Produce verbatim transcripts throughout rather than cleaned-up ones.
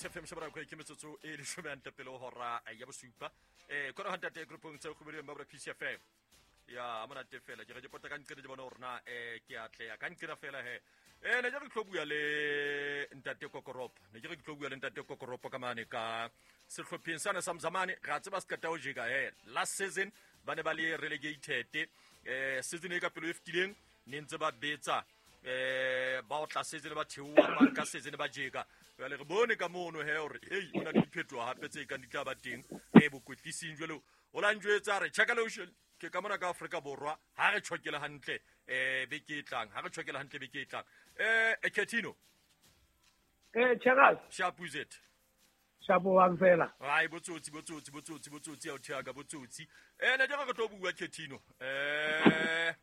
P C F M shebra ko ke metsotso e leshome hantle pele ho hora ya bosupa. Eh kona hantate groupong tse kgobeleng ba P C F M. Ya monate fela ke re ke pota ka nqene ke bona hore na eh ke atleha ka nqena fela he. Eh ne ke re tlo bua le ntate Kokoropo. Ne ke re tlo bua le ntate Kokoropo ka mane ka sehlopheng sana sa Mzamane ra tseba se qeta ho jeka he. Last season ba ne ba le relegated eh season e ka pelo e fetileng ne ntse ba betsa eh ba otla season ba theoha ba nka season ba jeka. Jwale re bone ka mono he hore ei o na le diphetoho hape tse kang di tla ba teng eh bokwetlising jwale o la njwetsa re check lotion ke ka mona ka Afrika Borwa ha re tshokela hantle eh beke e tlang ha re tshokela hantle beke e tlang eh Ketino eh Cheras Shapuzet Shapo wa fela ai botsotsi botsotsi botsotsi botsotsi ya o thiaka botsotsi eh ne ke re tlo bua Ketino eh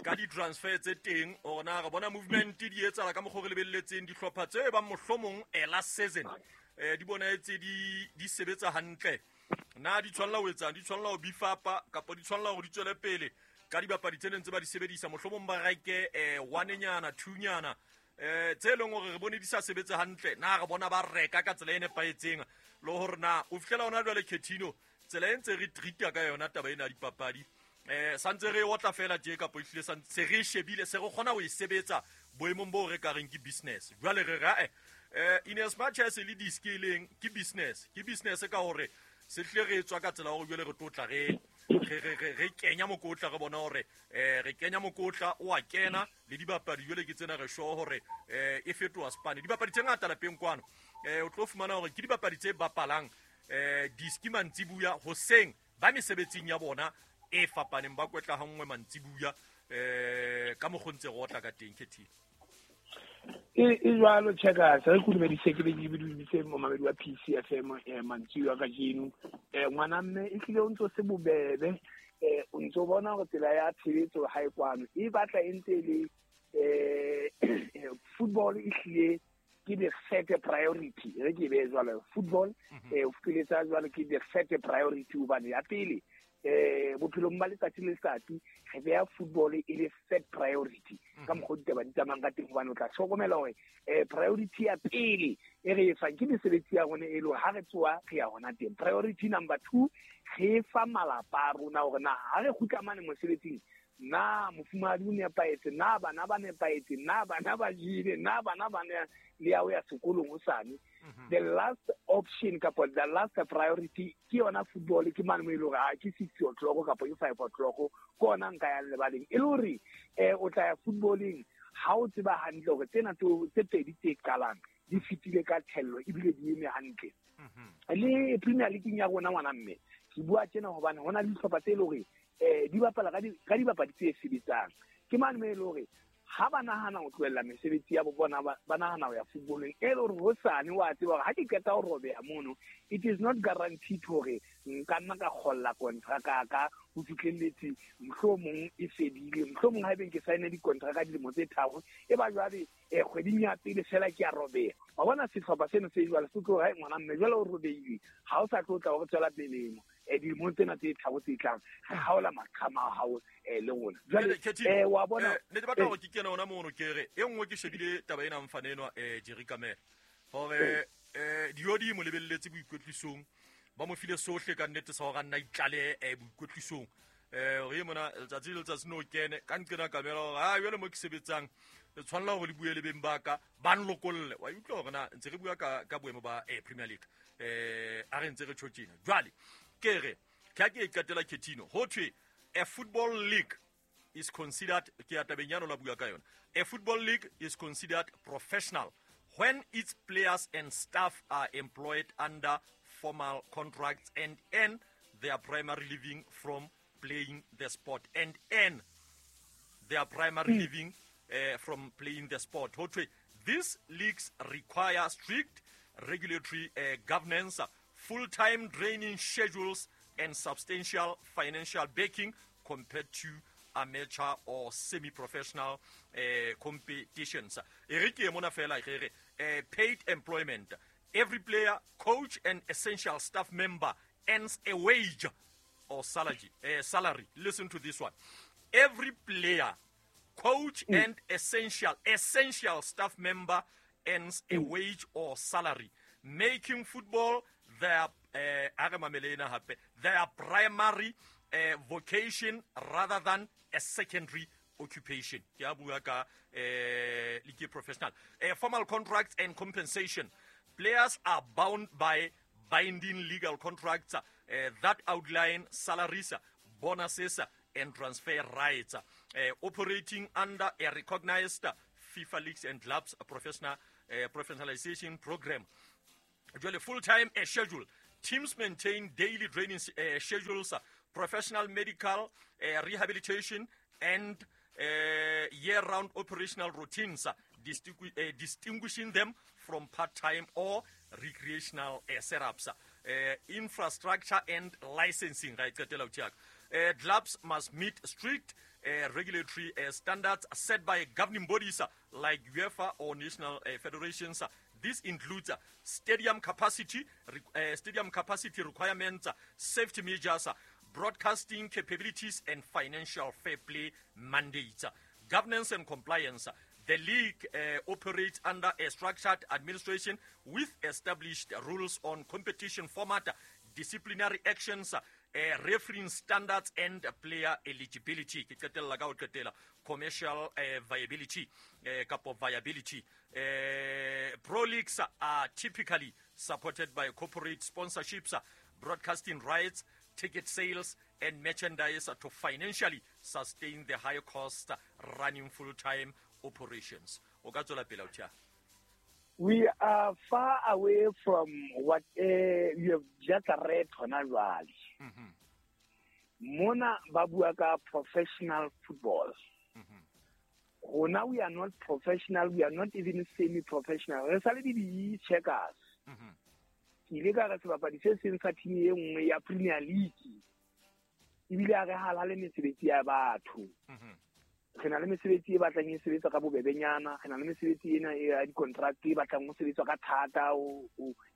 ka di transfer tse teng hore na re bona movement di etsahala ka mokgwa re lebelletseng dihlopha tse bang mohlomong eh last season eh di bona etse di di sebetsa hantle na di tshwanela ho etsang di tshwanela ho bifapa kapa di tshwanela hore di tswele pele ka dibapadi tse neng tse ba di sebedisa mohlomong ba reke eh one nyana two nyana eh tse leng hore re bone di sa sebetse hantle na re bona ba reka ka tsela e nepahetseng le hore na o fihlela hona jwale Ketino tsela e ntse re treat-a ka yona taba ena ya dipapadi eh santse re otla fela tje kapo ehlile santse re shebile se re kgona ho e sebetsa boemong bo re ka reng ke business jwale re ra eh in as much as le di-skilling ke business ke business ka hore se hle re tswa ka tsela hore jwale re tlotla re re re re kenya mokotla re bona hore eh re kenya mokotla o a kena le dibapadi jwale ke tsena re sure hore eh e fetoha spane dibapadi tse ngata lapeng kwano eh o tlo fumana hore ke dibapadi tse bapalang eh diski mantsibuya hoseng ba mesebetsing ya bona e fapaneng ba kwetla ha nngwe mantsibuya eh ka mokgontse go otla ka teng Ketino e e jwalo Checkers re kudumedise ke be ke biditse momamedi wa P C F M eh mantsibuya kajeno eh ngwana mme e hlile o ntso se bobebe eh o ntso bona hore tsela ya tshebetso ha e kwano e batla e ntse le eh football e hlile ke the third priority re ke be jwalo football eh o filetsa jwalo ke the third priority hobane ya pele eh bophelong ba letsatsi le letsatsi re beha football e le third priority ka mokgwa ditaba di tsamayang ka teng hobane o tla hlokomela hore eh priority ya pele e re e fang ke mesebetsi ya rona e le hore ha re tsoha re ya hona teng. Priority number two re fa malapa a rona hore na ha re kgutla mane mosebetsing na mofumahadi o nepahetse na bana ba nepahetse na bana ba jele na bana ba ne le ya ho ya sekolong hosane. The last option kapa the last priority ke yona football ke mane mo e le hore ha ke six o'clock kapa ke five o'clock ke ona nka yang lebaleng e le hore eh o tla ya footballing ha o tseba hantle hore tsena tse pedi tse qalang di fetile ka thello ebile di eme hantle. Le Premier League ya rona ngwana mme ke bua tjena hobane hona le dihlopha tse le hore eh di bapala ka di ka dibapadi tse sebetsang ke mane mo e le hore ha ba nahana ho tlohella mesebetsi ya bona ba nahana ho ya footballeng e le hore hosane wa tseba hore ha ke qeta ho robeha mono it is not guaranteed hore nka nna ka kgolla kontraka ka ho fihlelletse mohlomong e fedile mohlomong haebeng ke sign dikontraka dilemo tse tharo e ba jwale eh kgweding ya pele fela ke a robeha wa bona sehlopha seno se jwale se tlo ha ngwana mme jwale o robehile ha o sa tlo tla hore tswela pele mo eh dilemong tsena tse tharo tse tlang re haola maqhama a hao eh le rona jwale eh wa bona ne ke batla hore ke kene hona mono ke re e nngwe ke shebile taba ena mfane enwa eh Jerry Kamela hore eh Diodi mo lebelletse boikwetlisong ba mo file sohle ka nnete sa hore a nna itlale eh boikwetlisong eh re mona letsatsi le letsatsi no kene ka nqena Kamela hore ha jwale mo ke sebetsang le tshwanela hore le bue le beng ba ka ba nlokolle wa utlwa hore na ntse re bua ka ka boemo ba eh Premier League eh a re ntse re tjho tjena jwale ke re ke ke qetela Ketino ho thwe a football league is considered ke ya tabeng ya la bua ka yona a football league is considered professional when its players and staff are employed under formal contracts and earn their primary living from playing the sport and earn their primary mm. living uh, from playing the sport. Ho thwe these leagues require strict regulatory uh, governance, full-time training schedules and substantial financial backing compared to amateur or semi-professional uh, competitions. Erike mona fela re uh, paid employment. Every player, coach and essential staff member earns a wage or salary. Uh, salary. Listen to this one. Every player, coach mm. and essential essential staff member earns a wage or salary. Making football their uh, their primary uh, vocation rather than a secondary occupation. Ke a bua ka eh league professional. Uh, formal contracts and compensation. Players are bound by binding legal contracts uh, that outline salaries, bonuses, and transfer rights. Uh, operating under a recognized FIFA Leagues and Clubs professional uh, professionalization program. Full-time uh, schedule. Teams maintain daily training uh, schedules, uh, professional medical uh, rehabilitation, and uh, year-round operational routines, uh, distingu- uh, distinguishing them from part-time or recreational uh, setups. Uh, infrastructure and licensing. Uh, clubs must meet strict uh, regulatory uh, standards set by governing bodies uh, like UEFA or national uh, federations. This includes uh, stadium capacity, re- uh, stadium capacity requirements, uh, safety measures, uh, broadcasting capabilities, and financial fair play mandates. Governance and compliance. The league uh, operates under a structured administration with established rules on competition format, disciplinary actions, uh, refereeing standards, and player eligibility. Commercial uh, viability, uh, kapo viability. Uh, pro leagues are typically supported by corporate sponsorships, broadcasting rights, ticket sales, and merchandise to financially sustain the high cost running full-time operations. We are far away from what uh, you have just read hona jwale. Mona ba bua ka professional football. Rona we are not professional, we are not even semi-professional. Re sa le di checkers. Ke ile ka re sebapadi se seng sa team e nngwe ya Premier League. Ebile a re halale mesebetsi ya batho. Re na le mesebetsi e batlang e sebetsa ka bobebenyana, re na le mesebetsi ena ya di-contract e batlang ho sebetswa ka thata,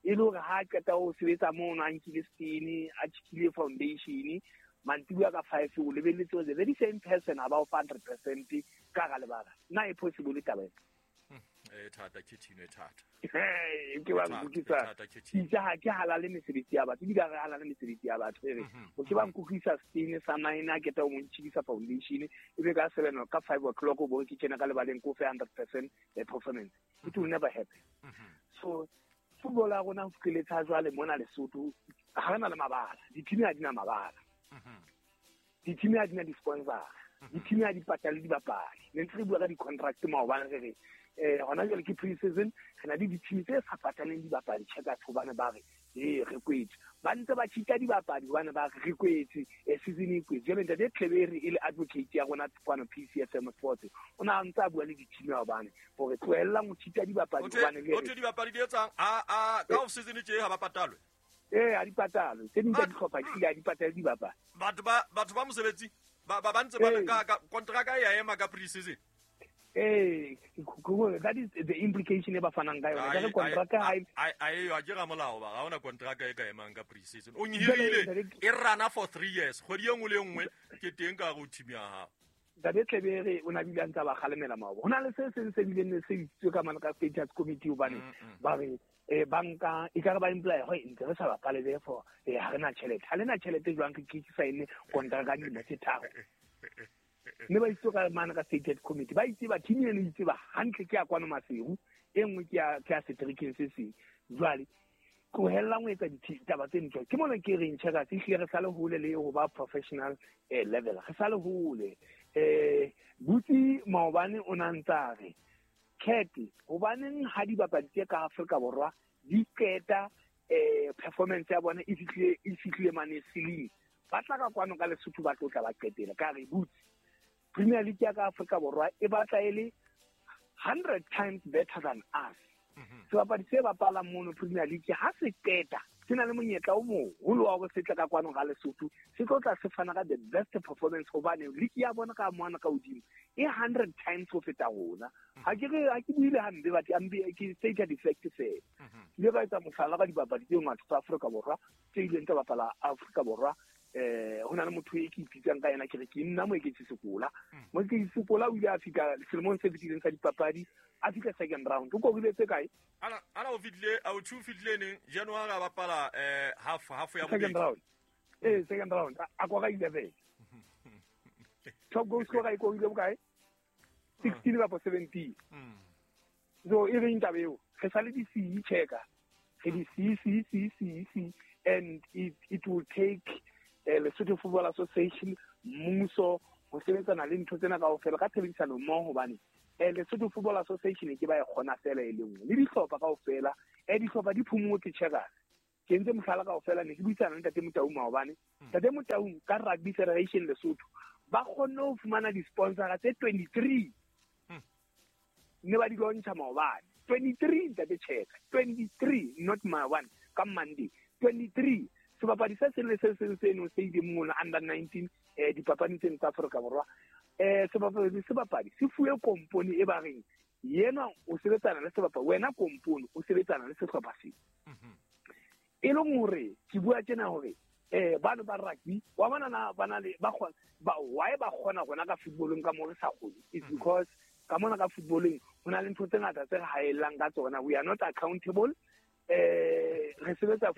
e le hore ha qeta ho sebetsa mono a nkile stene, a tjhekile foundation, mantsibuya ka five o lebelletse hore the very same person a ba o fa hundred percent ka hara lebala. Na e possible taba ena? E thata, ke thino e thata. Ke ba nkutlwisa. Itse ha ke halale mesebetsi ya batho, ebile ha re halale mesebetsi ya batho. Ere o ke ba nkutlwisa stene sa nine a keta o mo ntjhidisa foundation, ebe ka seven ka five o'clock o bo ke kena ka lebaleng ko fe hundred percent performance. It will never happen. So football ya rona ho fihlile jwale mona Lesotho, ha re na le mabala, di-team ha di na mabala. Di-team ha di na di-sponsor, di-team ha di patale dibapadi. Ne ntse re bua ka di-contract maobane re re eh hona jwale ke pre-season, re na le di-team tse sa pataleng dibapadi checkers hobane ba re eh re kwetse, ba ntse ba cheat-a dibapadi hobane ba re re kwetse, eh season e kwetse. Jwale ntate Tlebere e le advocate ya rona kwano P C F M Sports, o na ntse a bua le di-team hobane hore tlohellang ho cheat-a dibapadi hobane le o thwe dibapadi di etsang a a ka off season tje ha ba patalwe. Eh ha di patalwe, tse ding tsa dihlopha di ha di patale dibapadi. Batho ba batho ba mosebetsi ba ba ntse ba ka contract ya ema ka pre-season. Eh, that is the implication e ba fanang ka yona. Ka re contract ha e a a ke ga molao ba ga ona contract e ka emang ka pre-season. O nhirile e rana for three years. Kgwedi e nngwe le nngwe ke teng ka go team ya hao. Ntate Tlebere o na bile a ntse ba kgalemela maoba. Ho na le se seng se bileng ne se bitsitswe ka mane ka status committee hobane ba re eh banka e ka re ba employer ho ntse re sa bapale therefore eh ha re na tjhelete. Ha le na tjhelete jwang ke ke sign contract ka dilemo tse tharo. Mme ba itse ka mane ka stated committee, ba itse ba team eno itse ba hantle ke ya kwano Maseru, e nngwe ke ya ke ya seterekeng se seng. Jwale tlohellang ho etsa ditaba tse ntho. Ke mona ke reng checkers ehlile re sa le hole le ho ba professional eh level, re sa le hole. Eh Butsi maobane o na ntsa re Cat hobaneng ha dibapadi tse ka Afrika Borwa di qeta eh performance ya bona e fihlile e fihlile mane ceiling, ba tla ka kwano ka Lesotho ba tlo tla ba qetela. Ka re Butsi Premier League ya ka Afrika Borwa e batla e le hundred times better than us. Sebapadi se bapalang mono Premier League ha se qeta se na le monyetla o moholo wa hore se tla ka kwano ga Lesotho, se tlo tla se fana ka the best performance hobane league ya bona ka mona ka hodimo e hundred times ho feta rona. Ha ke re ha ke buile hampe but ambe ke stated effect fela. Ke ile ka etsa mohlala ka dibapadi tse ngata tsa Afrika Borwa tse ileng tsa bapala Afrika Borwa Eh ho na le motho e ke ipitsang ka yena ke re ke nna Moeketsi Sekola. Moeketsi Sekola o ile a fika selemong se fetileng sa dipapadi, a fihla second round. O korile tse kae? Ana ana o fitlile a o two fitlile neng January a bapala eh half half ya bobedi. Second round. Eh second round a kora eleven. Top goal scorer e korile bokae? sixteen kapa seventeen. So e reng taba eo? Re sale di C checker. Re di C C C C C and it it will take eh Lesotho Football Association mmuso ho sebetsana le ntho tsena kaofela ka tshebedisano mmoho hobane eh Lesotho Football Association ke ba e kgona fela e le nngwe le dihlopha kaofela eh dihlopha di phomotse checkers ke ntse mohlala kaofela ne ke buisana le Ntate Motaung maobane. Ntate Motaung ka Rugby Federation Lesotho ba kgonne ho fumana di-sponsora tse twenty-three ne ba di launcha maobane. twenty-three Ntate Checker, twenty-three not my one ka Monday twenty-three. Sebapadi se seng le se seng se nong se ile mona under nineteen eh dipapading tseno tsa Afrika Borwa eh sebapadi sebapadi se fuwe kompone e ba reng yena o sebetsana le sebapadi wena kompone o sebetsana le sehlopha se e leng hore ke bua tjena hore eh bana ba rugby wa bona na bana le ba kgona ba why ba kgona rona ka footballong ka mo re sa kgone it's because ka mona ka footballong ho na le ntho tse ngata tse re haellang ka tsona. We are not accountable eh re sebetsa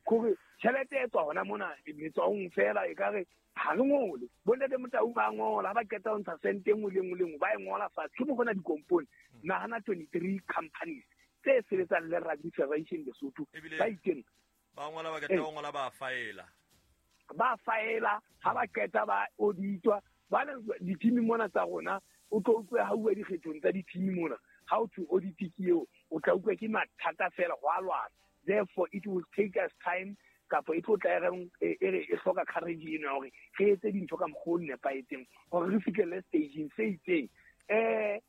kore tjhelete e tswa hona mona metswaong fela e ka re ha re ngole bontate Motaung ba ngola ha ba qeta ho ntsha sente e nngwe le nngwe le nngwe ba e ngola fatshe ke mo hona dikompone nahana twenty-three companies tse sebetsang le Rugby Federation Lesotho ba itseng ba ngola ba qeta ho ngola ba faela ba faela ha ba qeta ba auditwa ba le di-team mona tsa rona o tlo utlwe ha uwa dikgethong tsa di-team mona how to audit ke eo o tla utlwa ke mathata fela go a lwana. Therefore it will take us time kapa e tlo tla e re e hloka courage eno ya hore re etse dintho ka mokgwa o nepahetseng hore re fihlelle stageng se itseng. Eh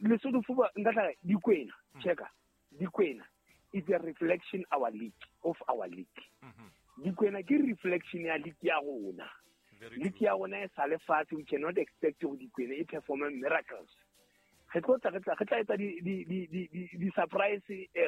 Lesotho Football nka tla re Dikwena checker Dikwena is a reflection our league of our league. Dikwena ke reflection ya league ya rona. League ya rona e sa le fatshe, we cannot expect hore Dikwena e perform miracles. Re tlo tla re tla re tla etsa di di di di di surprise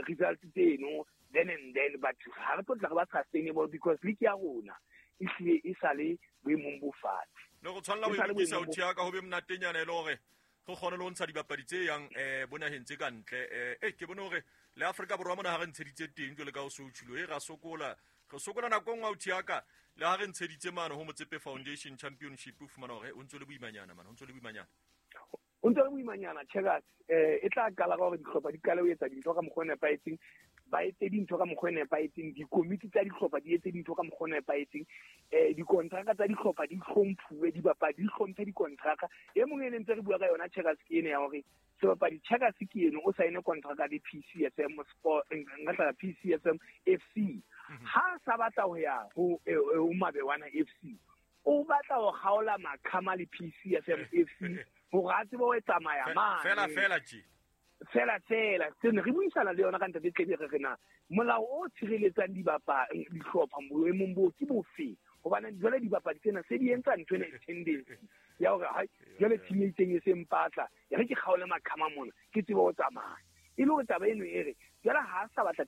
results tseno then and then but ha re tlo tla re ba sustainable because league ya rona e hlile e sa le boemong bo fatshe. Le go tshwanela ho ikisa ho thea ka ho be monatenyana e le hore re kgone le ho ntsha dibapadi tse yang eh bonaheng tse ka ntle eh eh ke bone hore le Afrika Borwa mona ha re ntsheditse teng jwale ka ho se o tshilo e ra sokola re sokola nako nngwe ho thea ka le ha re ntsheditse mane ho Motsepe Foundation Championship o fumana hore o ntse le boimanyana mane o ntse le boimanyana o ntse le boimanyana checkers eh e tla qala ka hore dihlopha di qale ho etsa dintho ka mokgwa o nepahetseng ba etse dintho ka mokgwa o nepahetseng dikomiti tsa dihlopha di etse dintho ka mokgwa o nepahetseng eh dikontraka tsa dihlopha di hlomphuwe dibapadi di hlomphe dikontraka e mong e ne ntse re bua ka yona checkers ke ene ya hore sebapadi checkers ke ene o saene kontraka le P C S M Sport nka tla P C S M F C ha sa batla ho ya ho ho Mabewana F C o batla ho kgaola maqhama le P C S M F C hore a tsebe ho tsamaya mane fela fela tje fela fela se ne re buisana le yona ka Ntate Tlebe re re na molao o tshireletsang dibapadi dihlopha boemong bo ke bofe hobane jwale dibapadi tsena se di entsa ntho ena tendency ya hore hai jwale team e itseng e se mpatla ya re ke kgaole maqhama mona ke tsebe ho tsamaya e le hore taba eno e re jwale ha a sa batla.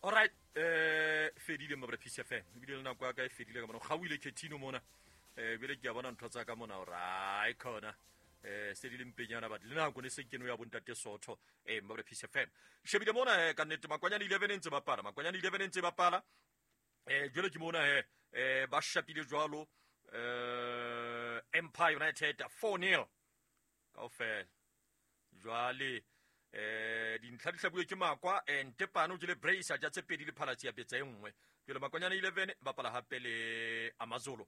All right eh fedile mabra P C F M ebile le nako ya ka e fedile ka mona gauile Ketino mona eh bile ke a bona ntho tsa ka mona hore ai khona eh se di le mpenyana but le nako ne se keno ya bontate Sotho eh mabra P C F M shebile mona eh ka nnete Makwanyane eleven ntse bapala Makwanyane eleven ntse bapala eh jwale ke mona eh eh ba shapile jwalo eh Empire United four nil kaofela jwale eh dintlha di hlabuwe ke Makwa eh Ntepane o jele Brace a ja tse pedi le Phalatsi ya betsa e nngwe jwale Makwanyane eleven bapala hape le Amazulu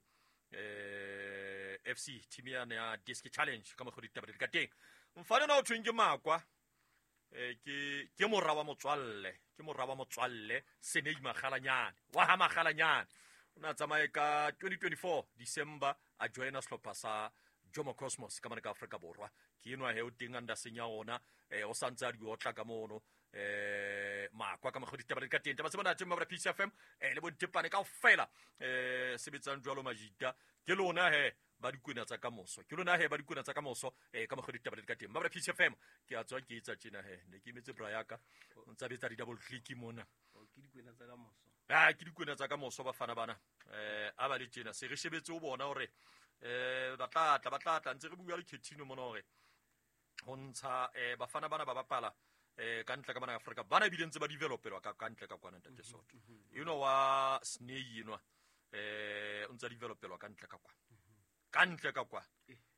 eh F C team ya ya Disc Challenge ka mokgwa ditaba di ka teng mfana na o thweng ke Makwa eh ke ke mora wa motswalle ke mora wa motswalle Senei Magalanyane wa ha Magalanyane o na tsamaye ka twenty twenty-four December a joina sehlopha sa Jomo Cosmos ka mane ka Afrika Borwa ke enwa he o teng under senya ona eh o santse a di otla ka mono eh Makwa ka mokgwa ditaba di ka teng taba tse monate mabra P C F M eh le bontepane kaofela eh sebetsang jwalo majita ke lona he ba dikwena tsa kamoso ke lona he ba dikwena tsa kamoso eh ka mokgwa ditaba di ka teng ba P C F M ke a tswa ke etsa tjena he ne ke emetse bra yaka ntsa betsa di double click mona ke dikwena tsa kamoso ah ke dikwena tsa kamoso bafana bana eh a ba le tjena se re shebetse o bona hore eh ba tla tla ba tla tla ntse re bua le Ketino mona hore ho ntsha eh bafana bana ba bapala eh ka ntle ka bana Afrika bana bile ntse ba developelwa ka ka ntle ka kwana ntate Soto you know wa Sney enwa eh o ntse developelwa ka ntle ka kwa ka ntle ka kwa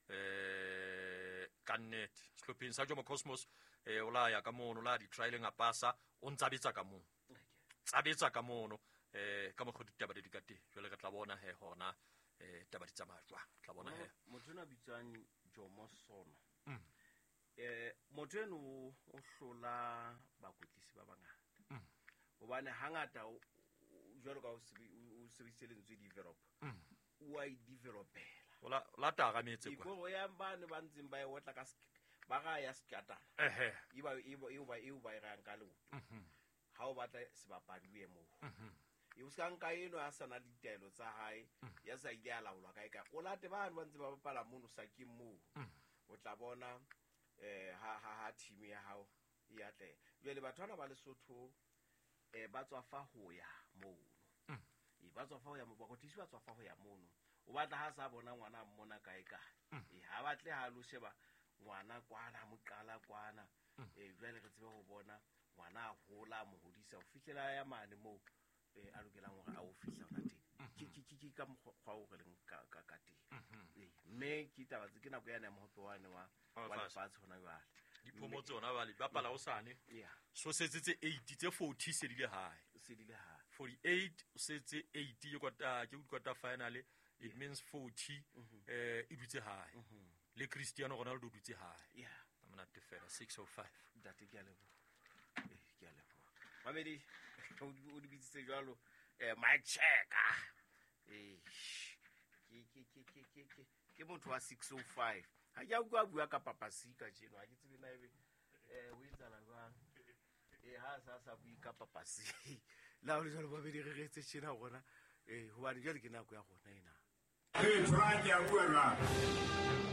eh ka net sehlopheng sa Jomo Cosmos eh o la ya ka mono la di trialing a pasa o ntsa betsa ka mono tsabetsa ka mono eh ka mokgwa ditaba di ka teng jwale re tla bona he hona eh taba di tsamaya jwang tla bona he motho ona bitswang Jomo Sono eh motho eno o hlola bakwetlisi ba bangata hobane hangata jwalo ka o sebedisitse lentswe develop o a e developela ola la tara metse kwa ikoro ya bane ba ntseng ba e otla ka ba ga ya sekatana ehe e ba e ba e ba e rang ka leoto ha o batla sebapadi o ye moo e o ska nka eno a sana ditaelo tsa hae ya sa ile a laolwa kae kae o late bane ba ntse ba bapala mono sakeng moo o tla bona eh ha ha ha team ya hao e atleha jwale batho bana ba Lesotho eh ba tswa fa ho ya mono e ba tswa fa ho ya mo bakwetlisi ba tswa fa ho ya mono o batla ha sa bona ngwana a mmona kae kae e ha batle ha lo sheba ngwana kwana mo qala kwana e jwale re tsebe ho bona ngwana a hola mo hodisa ho fihlela ya mane moo eh a lokelang hore a o fihla hona teng ke ke ke ka mokgwa o re leng ka ka ka teng mme ke taba tse ke nako ya mohope wane wa wa lefatshe hona jwale diphomo tsona ba le bapala o sane yeah so setse tse eight tse forty se dile hae se dile hae forty-eight setse eight ke kwata ke kwata final it means forty eh e dutse hae le Cristiano Ronaldo dutse hae yeah monate fela six oh five ntate ke a leboha eh ke a leboha mamedi o di bitsitse jwalo eh mic check eh ke ke ke ke ke ke ke motho wa six oh five ha ke a bua bua ka papasi ka jeno ha ke tsebe na ebe eh o etsala jwang eh ha sa sa bui ka papasi la o le jwalo babedi re re tse tjena rona eh hobane jwale ke nako ya rona ena eh try ya bua jwang.